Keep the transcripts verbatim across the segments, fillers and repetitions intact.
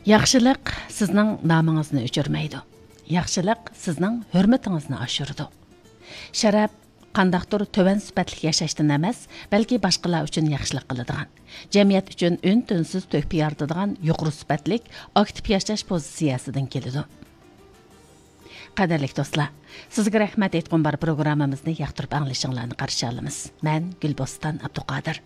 ياخشىلىق سىزنىڭ نامىڭىزنى ئۆچۈرمەيدۇ. ياخشىلىق سىزنىڭ ھۆرمىتىڭىزنى ئاشۇرىدۇ. شەرەپ قانداقتۇر تۆۋەن سۈپەتلىك ياشاشتىن ئەمەس، بەلكى باشقىلار ئۈچۈن ياخشىلىق قىلىدىغان، جەمئىيەت ئۈچۈن ئۈن-تىنسىز تۆھپە يارىتىدىغان يۇقىرى سۈپەتلىك، ئاكتىپ ياشاش پوزىتسىيەسىدىن كېلىدۇ. قەدىرلىك دوستلار، سىزگە رەھمەت ئېيتقۇم بار پروگراممىمىزنى ياقتۇرۇپ ئاڭلىشىڭلارنى قارشى ئالىمىز. مەن گۈلبوستان ئابدۇقادىر.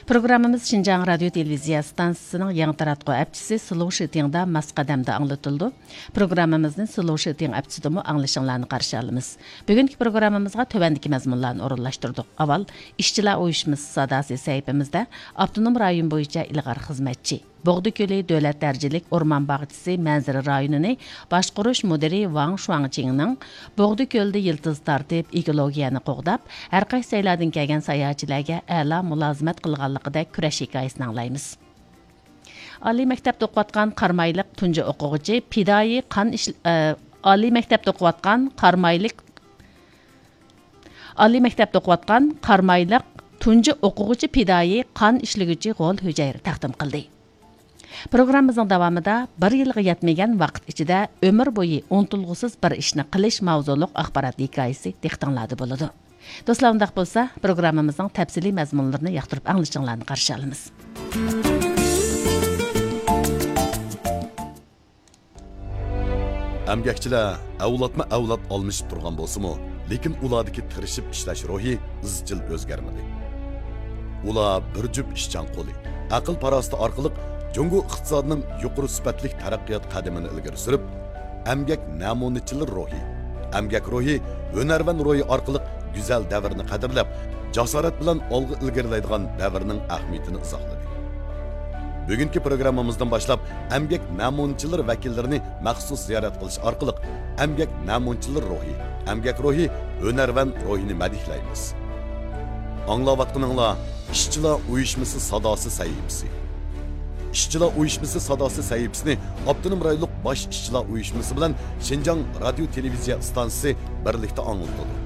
پروگراممىمىز شىنجاڭ رادىيو تېلېۋىزىيە ئىستانسىسىنىڭ يېڭى تاراتقۇ ئەپچىسى سلوۋ شىتىڭدا ماس قەدەمدە ئاڭلىتىلىدۇ. پروگراممىمىزنى سلوۋ شىتىڭ ئەپچىسىدىمۇ ئاڭلىشىڭلارنى قارشى ئالىمىز. بۈگۈنكى پروگراممىمىزغا تۆۋەندىكى مەزمۇنلارنى ئورۇنلاشتۇردۇق. ئاۋۋال، ئىشچىلار ئۇيۇشمىسى ساداسى سەھىپىمىزدە ئاپتونوم رايون بويىچە ئىلغار خىزمەتچى، بوغدا كۆلى دۆلەت دەرىجىلىك ئورمان باغچىسى مەنزىرە رايونىنى باشقۇرۇش مۇدىرى ۋاڭ شۇاڭچىڭنىڭ بوغدا كۆلىدە يىلتىز تارتىپ، ئېكولوگىيەنى قوغداپ، ھەر قايسى جايلاردىن كەلگەن ساياھەتچىلەرگە ئەلا مۇلازىمەت قىلغانلىقىدەك كۈرەش ھېكايىسىنى ئاڭلايمىز. ئالىي مەكتەپتە ئوقۇۋاتقان قارامايلىق تۇنجى ئوقۇغۇچى پىدائىي قان ئىش-، ئە، ئالىي مەكتەپتە ئوقۇۋاتقان قارامايلىق ئالىي مەكتەپتە ئوقۇۋاتقان قارامايلىق تۇنجى ئوقۇغۇچى پىدائىي قان ئىشلىگۈچى غول ھۈجەيرە تەقدىم قىلدى. پروگراممىمىزنىڭ داۋامىدا بىر يىلغا يەتمىگەن ۋاقىت ئىچىدە ئۆمۈر بويى ئۇنتۇلغۇسىز بىر ئىشنى قىلىش ماۋزۇلۇق ئاخبارات ھېكايىسى دىققىتىڭلاردا بولىدۇ. دوستلار، ئۇنداق بولسا، پروگراممىمىزنىڭ تەپسىلىي مەزمۇنلىرىنى ياقتۇرۇپ ئاڭلىشىڭلارنى قارشى ئالىمىز. ئەمگەكچىلەر ئەۋلادمۇ ئەۋلاد ئالمىشىپ تۇرغان بولسىمۇ، لېكىن ئۇلاردىكى تىرىشىپ ئىشلەش روھى ئىزچىل ئۆزگەرمىدى. ئۇلار بىر جۈپ ئىشچان قولى، ئەقىل-پاراسىتى ئارقىلىق جۇڭگو ئىقتىسادىنىڭ يۇقىرى سۈپەتلىك تەرەققىيات قەدىمىنى ئىلگىرى سۈرۈپ، ئەمگەك نەمۇنىچىلىرى روھى، ئەمگەك روھى، ھۈنەرۋەن روھى ئارقىلىق گۈزەل دەۋرنى قەدىرلەپ، جاسارەت بىلەن ئالغا ئىلگىرىلەيدىغان دەۋرنىڭ ئەھمىيىتىنى ئىزاھلىدى. بۈگۈنكى پروگراممىمىزدىن باشلاپ، ئەمگەك نەمۇنىچىلىرى ۋەكىللىرىنى مەخسۇس زىيارەت قىلىش ئارقىلىق، ئەمگەك نەمۇنىچىلىرى روھى، ئەمگەك روھى، ھۈنەرۋەن روھىنى مەدھىيلەيمىز. ئاڭلاۋاتقىنىڭلار ئىشچىلار ئۇيۇشمىسى ساداسى سەھىپىسى. ئىشچىلار ئۇيۇشمىسى ساداسى سەھىپىسىنى ئاپتونوم رايونلۇق باش ئىشچىلار ئۇيۇشمىسى بىلەن شىنجاڭ رادىيو تېلېۋىزىيە ئىستانسىسى بىرلىكتە ئاڭلىتىدۇ.